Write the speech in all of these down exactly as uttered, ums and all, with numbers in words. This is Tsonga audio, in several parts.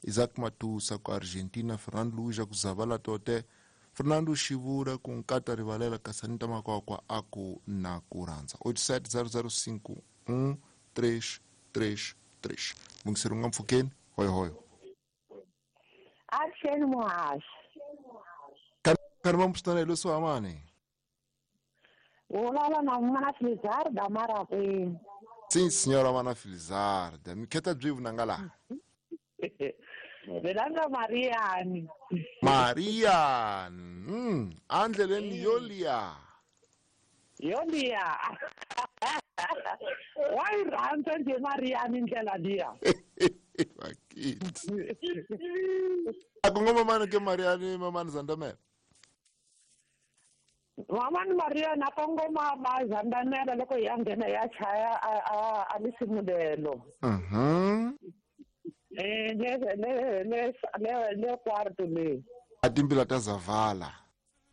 Isaac Matusa ku Argentina, Fernando Luis ku Zavala Tote, Fernando Xivura ku Nkata Rivalela Kasanita Makwakwa a ku na ku rhandza. oito sete zero zero cinco um três três três. Mungiseri nga mpfhukeni, hoyo hoyo. Action muhaxi. Kani va mpfutana hi leswi amani. Vulavula na Mana Filizarda Marakwini. Sim, senhora Mana Filizarda. Mi kheta byi vunanga laha. Velanga Mariani. Mariani. Mm, andleleni yolia. Yolia. Wa yi rhandza nje Mariani ndlela liya. Vakiti. Akungoma mani ke Mariani mamani Zandamela. Mamani Mariani a kongoma ma Zandamela loko ya nghena ya chaya a a a lisimulelo. Mhm. Eh le le le le le quarto le. A timbila ta Zavala.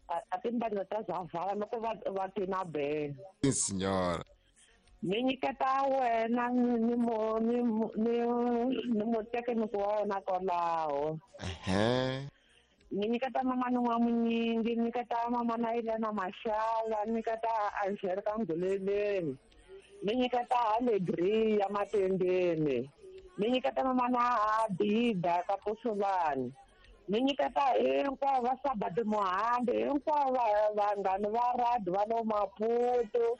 A timbila ta Zavala loko va va tina be. Sim senhora. Ni nyiketa wena ni mo ni ni ni mutekiniki wa wena kwalaho. Ehe. Ni nyiketa mama n'wa munyingi, ni nyiketa mama na Elena Mashala, ni nyiketa Angelica Nguleleni, ni nyiketa Alegria Matendeni, ni nyiketa mama na Abida Kapusulani, ni nyiketa hinkwavo va Sabati Muhambi, hinkwavo vanghani va radi va lo Maputo.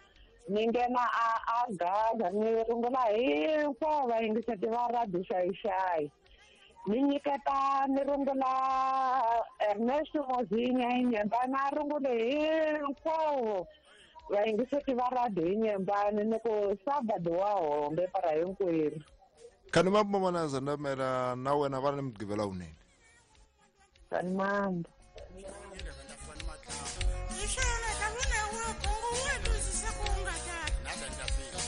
Ni nghena a a Gaza, ni rungula hinkwavo vayingiseti va radio xayixayi. Ni nyiketa ni rungula Ernesto Mozinya hi Nyembani, a rungule hinkwavo vayingiseti va radio hi Nyembani, ni ku Sabado wa hombe para hinkwerhu. Khani mambo mana Zandamela na wena va ni mugqivela wunene. Khani mambo.